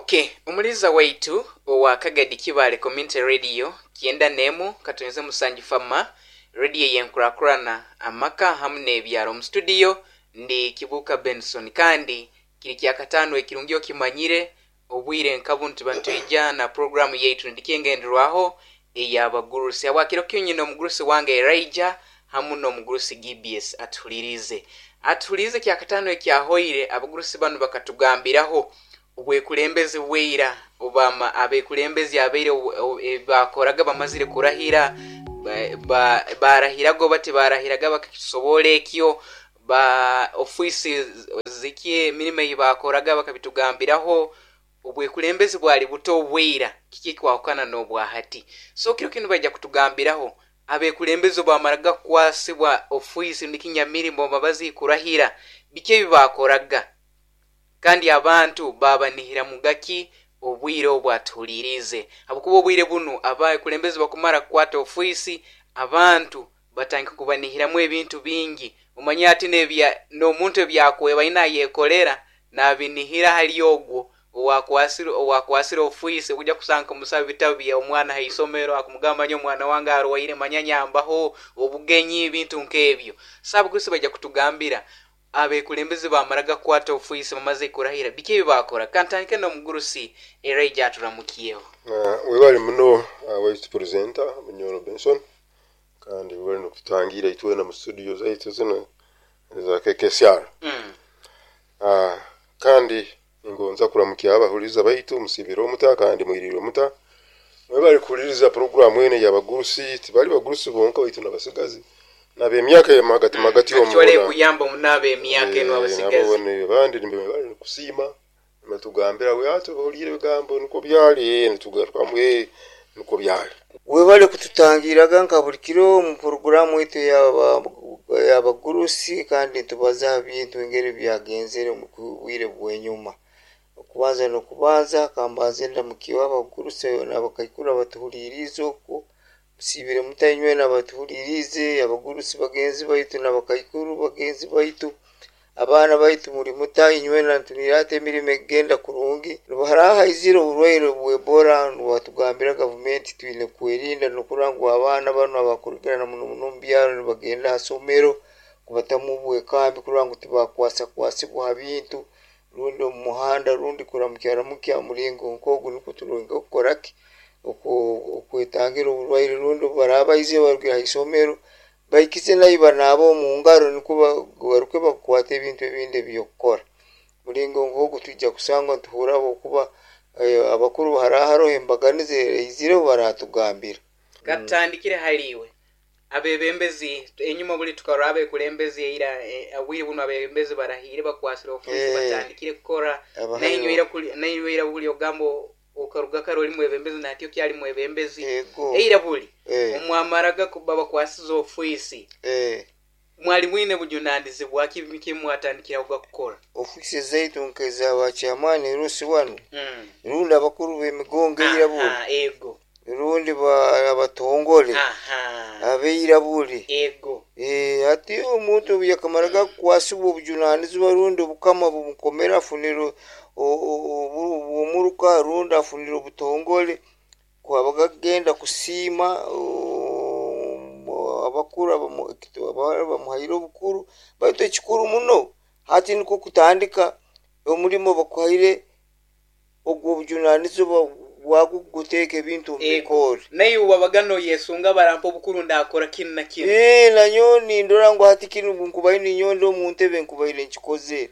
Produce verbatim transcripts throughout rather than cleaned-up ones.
Okay, omuliza waitu owa Kagadi Kibaale Community Radio kyenda nemu katonze musanju fama radio yenkurakurana amaka hamu n'ebyaro. Mu studio ndi Kibuka Benson, kandi kiri kyakataano ekirungi okimanyire obwire nkabu ntuba nitwija na programu yaitu ndikengenderwaho ey'abagurusi. Habwakiro kyonyine omugurusi wange Elijah hamu n'omugurusi G B S atuhulirize atuhulirize Kyakataano ekyahoire abagurusi banu bakatugambiraho obwekulembezi bweira, obama abekulembezi abaire bakoraga bamazire kurahira, barahiraga oba tibarahiraga, bakakisobora ekyo ba ofiisi ziki, emirimo ei bakoraga bakabitugambiraho. Obwekulembezi bwali buto obweira, kiki ekwahukana n'obwahati? So kiro kinu baija kutugambiraho abekulembezi bamaraga kukwasibwa ofiisi nikinyamirimo babazi kurahira, biki ebi bakoraga kandi abantu babanihiramuga ki obwire obu atuhulirize, habwokuba obwire bunu abakulembezi bakumara kukwata ofiisi, abantu batandika kubanihiramu ebintu bingi. Omanye ati n'omuntu ebyakweba aine ayekolera nabinihira hali ogwo owakwasire owakwasire ofiisi. Okujja kusanga kumusaba ebitabu bya omwana ha isomero, akumugamba, "Nyo omwana wange arwaire, manya nyambaho obugenyi," ebintu nk'ebyo. So abagurusi baija kutugambira abekulembezi bamaraga kukwata ofiisi, bamaze kurahira, biki ebi bakora. Kantandike n'omugurusi Elijah, aturamukiyeho. Webale muno, waitu presenter Munyoro Benson, kandi webale nokututangira itwena mu studio zaitu zino eza K K S R. mm. uh, kandi ningonza kuramukya abahuliriza baitu. Musibire omuta kandi mwirire omuta? Mwebale kuhuliriza programu eno y'abagurusi. Tibali bagurusi bonka, baitu nabasigazi nab'emyaka yamagati magati. Actually kuyamba munaaba emyaka eno abasigazi. Abandi bali kusiima, nibatugambira we ati bahulire ebigambo niko byali, nitugarukamu niko byali. Webale kututangiraga nka buli kiro mu poroguramu yaitu y'abagurusi, kandi nitubaza ha bintu engeri byagenzere mu bwire bw'enyuma. Okubanza n'okubanza, kambanze ndamukiwe abagurusi n'abakaikuru abatuhuliriize okwo. Musiibire muta inywena abatuhuliriize, abagurusi bagenzi baitu n'abakaikuru bagenzi baitu, abaana baitu, muli muta inywena? Ntunira ati emirimo egenda kurungi. Haraha haizire oburwaire bw'Ebola, nibatugambira gavumenti twine kwerinda nokurora ngu abaana banu abakurugirana muno muno omu byaro nibagenda ha somero, kubatamu obwekambi kurora ngu tibakwasa kwasibwa ha bintu rundi omu muhanda rundi kuramukyaramuky mulingo nk'ogu, nukwo turonge okukora ki, okwetangira oburwaire, rundi obu baraba baizire barugire ha isomero, baikize nayo banaaba omu ngaro, nukwo bagaruke bakwate ebintu ebindi ebyokukora. Mulingo nk'ogu twija kusangwa nituhurra, habwokuba abakuru haraha haroho embaganiza eizireho, baratugambira. Katutandikire haliiwe. Abebembezi enyuma buli tukarora abekulembezi eira, obwire bunu abebembezi barahire, bakwasire ofiisi, batandikire kukora. Nainywe ira buli ogamba okaruga kare oli mwebembezi, nati okyali mwebembezi. Eira buli omwamaraga kuba bakwasize ofiisi, mwali mwine bujunanizibwa ki? Biki mwatandikiraho kukora? Ofiisi zaitu nk'eza ba chairman rusi wanu rundi abakuru b'emigongo eira buli, ego rundi abatongole abeira buli. Ego hati omuntu obu yakamaraga kukwasibwa obujunanizibwa rundi obukama bumukomera, afunire obwomuruka rundi afunire obutongole, kwabaga kugenda kusiima abakuru bamuhaire obukuru. Baitu ekikuru muno hati nukwo kutandika omulimo bakuhaire, ogwo obujunanizibwa bwagwo kuteeka ebintu omu bikoore. Naiwe wabaga noyesunga, barampa obukuru ndakora kinu na kinu. Nanyowe nindora ngu hati kinu nkubaire ninyowe ndi omu ntebe nkubaire nkikozere.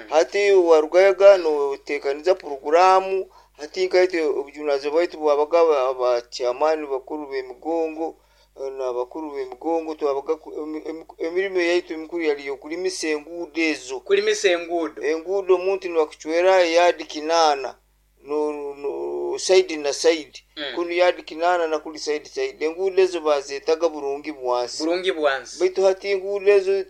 Hati warugayoga notekaniza poroguramu. Hati nkaitwe obujunanizibwa bwaitu bwabaga aba chairman, bakuru b'emigongo n'abakuru b'emigongo, twabaga emirimo yaitu emikuru yali yokulimisa enguudo ezo. Kulimisa enguudo. Enguudo, omuntu nibakucwera yadi kinaana no, no, side na side, kunu yadi kinaana na kuli side side. Enguudo ezo bazetaga Burungi Bwansi. Burungi Bwansi. Baitu hati enguudo ezo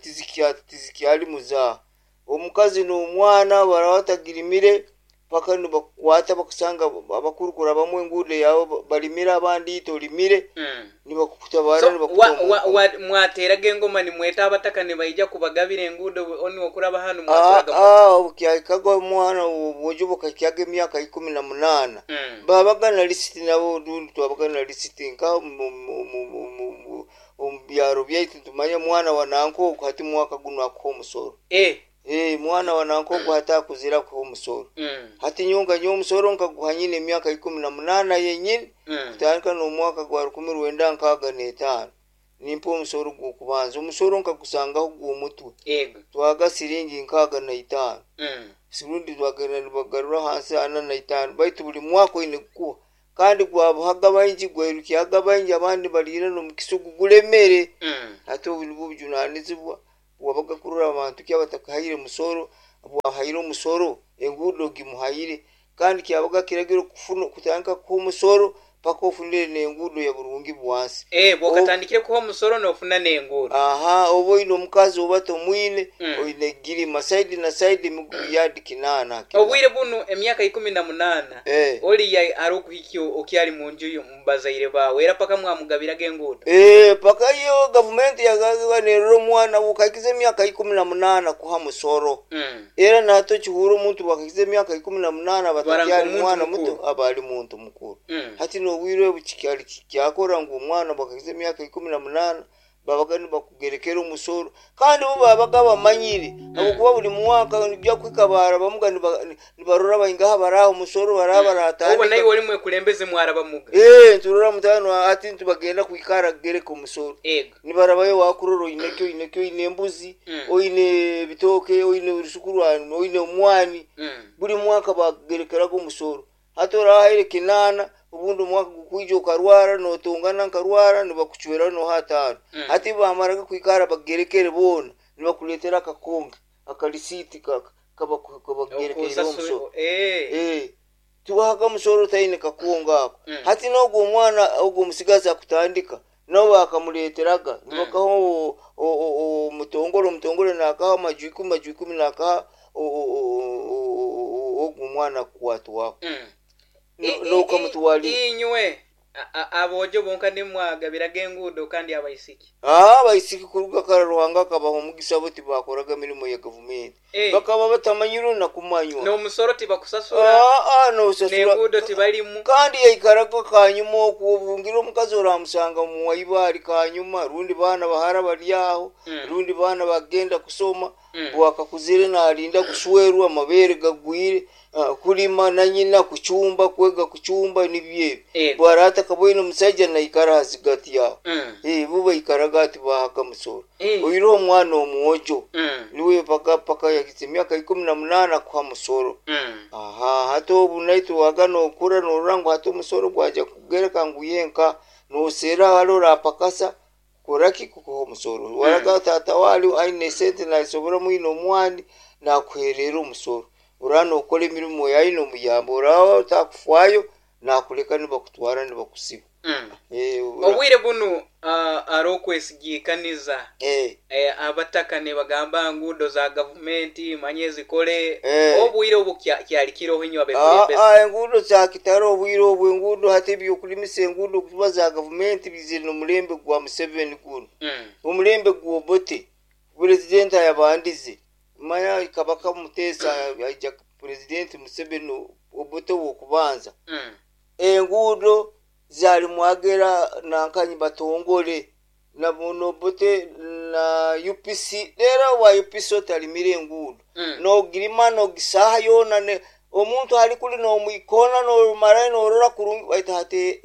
tizikyali muzaaha. Omukazi n'omwana baraba batagirimire. Paka nibakukwata bakusanga abakuru kurabamu enguudo yawe balimire, abandi ite olimire, Mm. nibakutabara. So, Nibakuta wa- omu wa- nkomo. wa- mwateraga engoma nimweta abataka nibaija kubagabira enguudo oni okuraba hanu Ah, mwaturaga mu- ah, obukyahikaga omwana obwojo bukahikyaga emyaka ikumi na munaana, Mm. babaga na lisiti nabo. Rundi twabaga na lisiti nka mu- mu- mu- mu- mu- mu- omu byaro byaitu tumanya mwana wa nanka ogu hati mwaka guno akuha omusoro. Eh. Eh, mwana wa nanka ogu hati akuzire akuha omusoro. Mm. Hati nyonga nyowe omusoro nkaguha nyine emyaka ikumi na munaana yenyini, Mm. kutandika n'omwaka gwa rukumi rwenda nkaaga n'etaano nimpa omusoro gw'okubanza. Omusoro nkagusangaho gw'omutwe. Ego. Twaga siringi nkaaga na itaano. Mm. Sirundi twagenda nibagarura hansi ana na itaano, baitu buli mwaka oine kukuha, kandi gwabuhaga baingi, gwairukyaga baingi, abandi baliire n'omukisugu gulemere. Mm. Hati obu nibwo bujunanizibwa bwabaga kurora abantu ki abatakahaire musoro. Bwahaire omusoro enguudo gimuhaire, kandi kyabaga kiragiro kufuna kutandika kuha omusoro paka ofunire n'enguudo ya burungi bwansi. Eh, bwokatandikire kuha omusoro nofuna n'enguudo. Aha, oba oine omukazi oba tomwine, Mm. oine girima saidi na saidi emigugu yadi kinaana kinaana. Obwire bunu emyaka ikumi na munaana, Eh. oliya ari okuhikya okyali munju yo mubazaire bawe era paka mwamugabiraga enguudo. Eh, paka iyo gavumenti yagaga nerora omwana bukahikiza emyaka ikumi na munaana kuha musoro. Mm. Era nato kihura omuntu bwakahikiza emyaka ikumi na munaana batakyali omuntu mwana mukuru. muto, aba ali muntu mukuru. Mm. Hati nobwire obu kikyali kyakora ngu omwana bwakahikiza emyaka ikumi na munaana babaga nibakugerekera omusoro, kandi bo babaga bamanyire habwokuba buli mwaka nibya kwikabara bamuga niba- nibarora baingaha baraha omusoro baraha Obo naye baratandika. oli mwekulembeze mwarabamuga. Eh, nturora mutano ati ntibagenda kwikara kugereka omusoro. Ego. Nibarabayo wakurora oineki oineki, oine embuzi, Mm. oine ebitooke, oine orusuku rwanu, oine omwani. Mm. Buli mwaka bakugerekeraga omusoro. Hati orahaire kinaana, obundi omwaka gukwija okarwara notongana nkarwara nibakucwera noha ataano. Mm. Hati bamaraga kwikara bagerekere boona nibakuleetera akakonge akarisiti kabakugerekeire omusoro. Okusasura eh. Eh, tubahaga omusoro otaine kakunga ako. Mm. Hati n'ogwo omwana ogwo omusigazi akutandika nabo bakamuleeteraga nibakaha o- o- o- omutongole, omutongole nakaha amaju ikumi, maju ikumi nakaha o- o- o- o- o- ogwo omwana akukwatwako. Mm. No- I- i- N'okamutwalira. Inywe a- a- abojo bonka nimwagabiraga enguudo kandi abaisiki? Ah, abaisiki kuruga kara Ruhanga akabaha omugisa, bo tibakoraga mirimo ya gavumenti. Eh. Bakaba batamanyire nakumanywa. N'omusoro tibakusasura? Ah, ah, nosasura. N'enguudo tibalimu. Kandi yaikaraga kanyuma okwo obungira omukazi oramusanga muwaibaali kanyuma, rundi baana bahara bari aho, Mm. rundi baana bagenda kusoma. Mm. Bwakakuzire nalinda kushwerwa, amabere gagwire, ah, kulima na nyina, kuchumba, kwega kuchumba, nibyo ebyo. Ego. Bwarata kabwine omusajja naikara hazigati yaho. Mm. Eh, bo baikaraga ati bahaga musoro. Eh. Oire omwana omwojo Mm. niwe paka paka yakize emyaka ikumi na munaana kuha musoro. Mm. Aha, hati obu naitwe waga nokura norora ngu hati omusoro gwaja kugereka ngu yenka nosera hali orapakasa koraki kukuha omusoro. Waraga tata wali aine esente nasobora mwine omwani nakuherera omusoro, ora nokora emirimo yaine omuyamba, oraba otakufwayo nakuleka nibakutwara nibakusiba. Mm. Eh, ora- Obwire bunu ah, ari okwesigikaniza eh, eh, abataka nebagamba nguudo za gavumenti manye zikole. Eh. Obwire obu kya- kyali kiroho inywe Ah, abekulembeze? ah, enguudo zakitara obwire obwo enguudo hati ebyokulimisa enguudo kuba za gavumenti bizire n'omulembe gwa Museveni guno. Mm. Omulembe gwobote purezidenti ayabandize manya Kabaka Muteesa aija purezidenti Museveni, Obote wokubanza. Mm. Enguudo zali mwagera nankanyi batongole na Obote na U P C, era wa U P C otalimire enguudo. Mm. Nogirima nogisaha yona ne omuntu ali kuli nomwikona nomara norora kurungi waita hati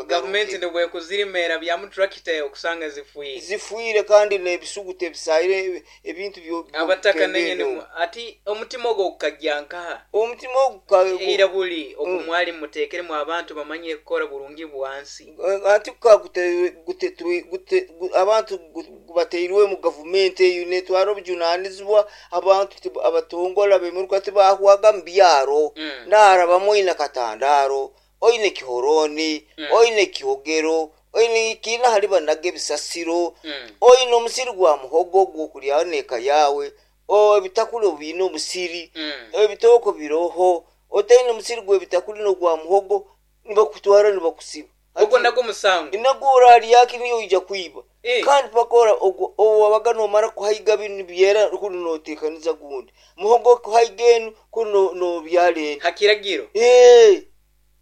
Gavumenti nibwekuzirimera byamu turakita okusanga zifuire. Zifuire kandi nebisugu tebisaire ebintu byo- Abataka byokutembera. nenyene ati omutima ogwo gukajja nkaha? Omutima ogu ka- Era buli okumwali muteekeremu abantu bamanye kukora burungi bwansi. Anti ka gute- gute- gute- gu- abantu gu- bateirwe mu gavumenti eyo netwara obujunanizibwa abantu tib- abatongola bemuruka tibahwaga mu byaro. Mm. Narabamu oine katandaro, oine kihoroni, Mm. oine kihogero, oine kiina hali banaga ebisasiro, Mm. oine omusiri gwa muhogo gwokuryaho neeka yawe. Ebitakuli obiine omusiri, Mm. ebitooko biroho. Otaine omusiri gw'ebitakuli n'ogwa muhogo, nibakutwara nibakusiba. Ogwo nagwo musango. Nagwo oralyaki, niyo oija kwiba. Eh. Kandi pakora ogwo owabaga nomara kuhaiga binu nibyera, kunu notekaniza gundi muhogo, kuhaiga enu kunu nobyala enu. Hakiragiro. Eh,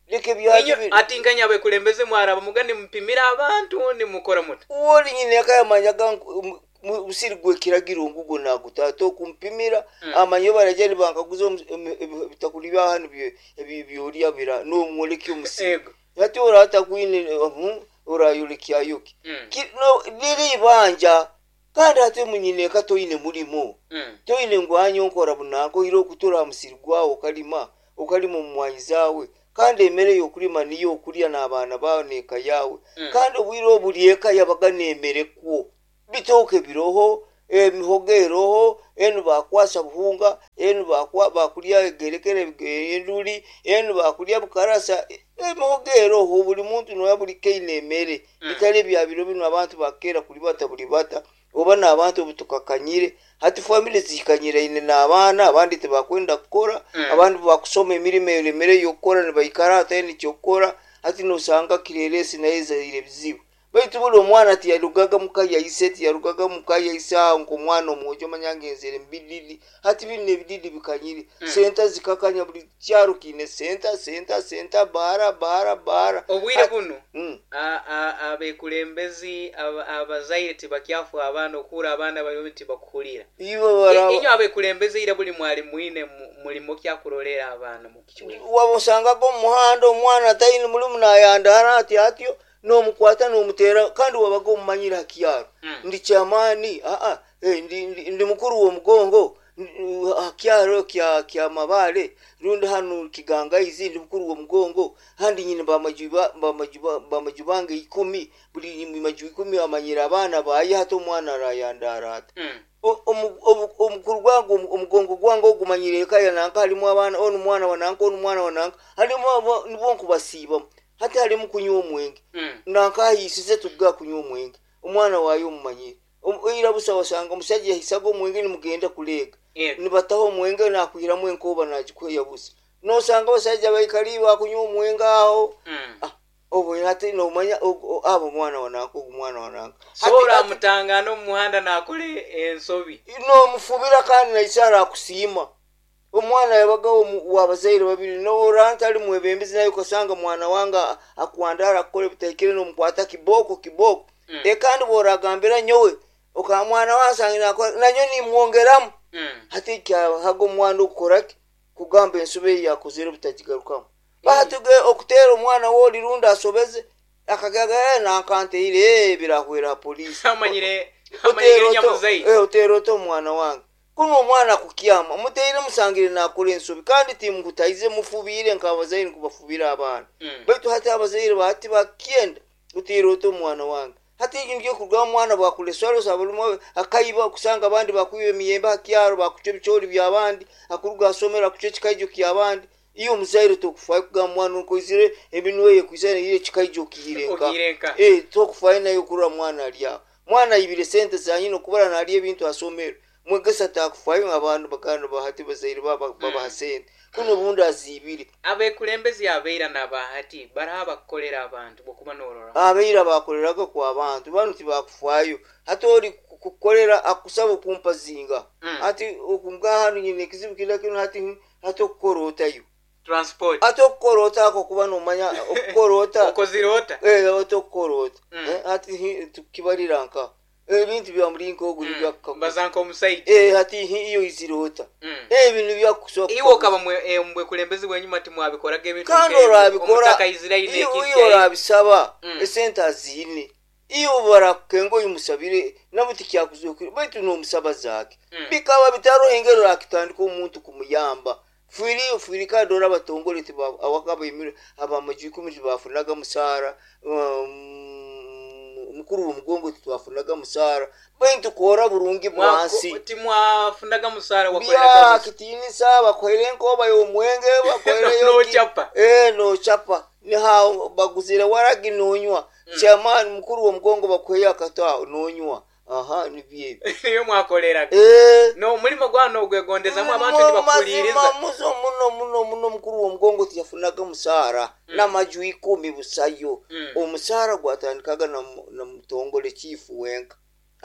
leka ebyaki. Inyo ati nkanya abekulembeze mwaraba muga nimupimira abantu, nimukora muta? Woli nyine yakayamanyaga musiri gwekiragiro ngugo nagutata okumpimira. Mm. Amanyi baraja nibankaguza omu- emi- ebi- ebitakuli bya hanu bye- ebi- byolya bira nomwolekya omusiri. Ego. Hati oratakwine orayolekyayoki? Mm. Ki- no, liri ibanja. Kandi ate munyineka toine mulimo, Mm. toine ngwanyo nkora bunanka oire okutura aha musiri gwawe, okalima okalima omumwanyi zawe, kandi emere yokulima niyo okulya n'abaana bawe n'eka yawe. Mm. Kandi obwire obuli eka yabaga n'emere kwo, bitooke biroho, emihogo eroho, enu bakwasa buhunga, enu bakwa bakulya egerekere enduli, enu bakulya bukarasa, emihogo eroho, buli muntu noya buli kaine emere. Mm. Bitali bya biro bino, abantu bakera kulibata bulibata oba n'abantu obu tukakanyire hati family zikanyiraine n'abaana, abandi tibakwenda kukora. Mm. Abandi bakusoma emirimo eremere y'okukora, nibaikara hataine kyokukora. Hati nosanga kireresi naye ezaire ebizibu, baitu buli omwana tiyarugaga muka yaise, tiyarugaga muka yaise aho nk'omwana omwojo omanya ngenzere mubididi. Hati bino ebididi bikanyire. Mm. Senta zikakanya, buli kyaro kiine senta, senta, senta, baara, baara, baara. Obwire bunu Mm. a- a- abekulembezi aba- abazaire tibakyafu abaana okuhura abaana bariho tibakuhurira. Iwe bara- Inyo abekulembeze ira buli mwali mwine mu- mulimo kyakurolera abaana mukichweka? Wamusangaga omu muhanda omwana ataine mulimu nayandara ati atyo, nomukwata nomutera, kandi wabaga omumanyire hakyaro. Mm. Ndi kyamaani, aa eh, ndi, ndi, ndi mukuru w'omugongo hakyaro kya kya mabale rundi hanu kigangaizi, ndi mukuru w'omugongo handi nyine bamajuba bamajuba bamaju bange ikumi, buli maju ikumi amanyire abaana baye. Hati omwana arayandara ati Mm. O- omu- omu- omukuru gwange, omu- omugongo gwange ogumanyire eka ya nanka halimu abaana, onu mwana wa nanka, onu mwana wa nanka, halimu abo- nibo nkubasiibamu. Hati halimu kunywa omwenge. Mm. Nanka ahiisize tuga kunywa omwenge, omwana waayo omumanyire. Omu- ira busa wasanga omusajja yahisaga omwenge nimugenda kuleega. Ego. Nibataho omwenge nakwiramu enkoba nagikweya busa, nosanga abasajja baikali bakunywa omwenge aho. Mm. Ah, obwo hati nomanya og- o- abo mwana wa nanka, ogu mwana wa nanka. So Hati- hati- oramutangana omu muhanda nakora ensobi? Nomufubira kandi naise arakusiima. Omwana yabaga omu- wabazaire babiri, noranta ali mwebembezi naye ukasanga mwana wange akwandara akukora ebitahikire, nomukwata kiboko kiboko. Mm. E kandi bworagambira nyowe oka mwana wansange nakora nanyo nimwongeramu. Mm. Hati kyahaga omwana okukoraki kugamba ensobi eyi yakozere butagigarukamu. Bahatuge okutera omwana woli rundi asobeze akagaga, "Eh, nankanteire, eh, birahwera polisi." Amanyire amanyire nyamuzaire. Eh, otera ota omwana wange? Kuno omwana kukyama muteire musangire nakora ensobi, kandi timukutaize, mufubiire nk'abazaire nkubafubira abaana. Mm. Baitu hati abazaire bahati bakyenda oteera ota omwana wange? Hati ngiye kurugaho omwana bakuleswalosa bulimu akaiba, kusanga abandi bakwiba emiyembe hakyaro, bakucwa ebicoori byabandi, akuruga asomero akucwa ekikaijo kyabandi. Iyo omuzaire tokufayo kugamba mwana okoizire eminwe ye kwisa ire ekikaijo okihire nka. Ogiire nka. Eh, tokufayo naye okurora mwana alyaho, mwana ayibire sente zanyina okubara nalya ebintu asomero, mwegesa takufayo. Abantu baganda bahati bazaire baba babaha sente, kuno obundi aziibire. Abekulembezi abeira nabahati baraha bakukolera abantu bokuba norora? Abaira bakoreraga ku abantu banu tibakufayo. Hati oli kukukolera akusaba okumpa zinga. Mm. Hati okunga hanu nyine ekizibu kina kino, hati hati okukora otayo? Transport. Hati okukora ota ako kuba nomanya okukora ota? Okozire ota? Eh, ota okukora ota? Mm. Eh, hati hi- tukibalira nka ebintu bya mulinga ogu nibyakukaguza. Baza nk'omusaija. Eh, hati hi- iyo izire ota? Mm. Ebintu byakusobola. Iwe okaba mwe- eh, mubwekulembezi bwenyuma timwabikoraga ebintu Kandi nk'ebyo? orabikora. Omutaka Israeli iyo n'ekisi iyo yaye. orabisaba Mm. esente aziine, iyo barakukenga oyimusabire nabo tikyakuzokire, baitu nomusaba zake. Mm. Bikaba bitaro engeri orakitandika omuntu kumuyamba fwiri fwiri. Kandi ora abatongole tiba- awaka abaimire abamaju ikumi tibafunaga musaara, um, mukuru w'omugongo titwafunaga musaara, baitu kora burungi bwansi. Mwako- timwafunaga musaara, wakoleraga Bya busa. kitinisa bakwere enkoba y'omwenge bakwereyo. Nochapa. Eh, nochapa niha baguzire waragi nonywa. Chairman mukuru w'omugongo bakweyo akatwa nonywa. Aha, nibyo ebyo. Niyo mwakoleraga. Eh, N'omulimo gwa nogwegondezamu, abantu mu- nibakuhuliriza. Mazima muzo muno muno muno. Mukuru w'omugongo tiyafunaga musaara n'amaju ikumi busayo. Mm. Omusaara gwatandikaga na mu- na mutongole chifu wenka.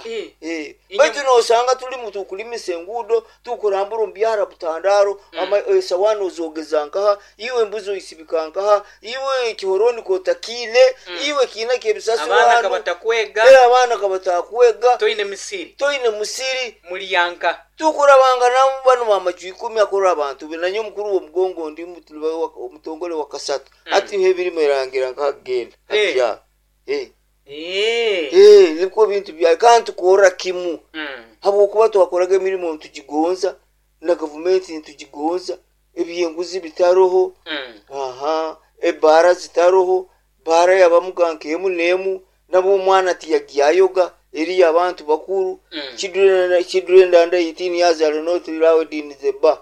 Eh, Eh, Inye- baitu nosanga tuli tukulimisa enguudo, tukurambura omubyara butandaro, ama esawani ozogeza nkaha, iwe embuzi oisibika nkaha, iwe ekihoroni kotakiine, iwe kiina kyebisasi. Abaana kabatakwega. Eh, abaana kabatakwega. Toine misiri. Toine musiri. Mulyanka. Tukurabanga namu bano bamaju ikumi akora abantu be nanye omukuru w'omugongo ndi mutu- wa- omutongole wa kasatu ati niho ebirimu erangira nkagenda. Eh. Atya eh. Eh. Eh, nibwo bintu bya kandi tukora kimu Mm. habwokuba twakoraga emirimo nitugigonza na gavumenti nitugigonza, ebyenguzi bitaroho. Mm. Aha, ebara zitaroho, bara yabamuga nkemu nemu nabo omwana tiyagyayoga eriyo abantu bakuru. Mm. Children children under eighteen years are not allowed in the bar.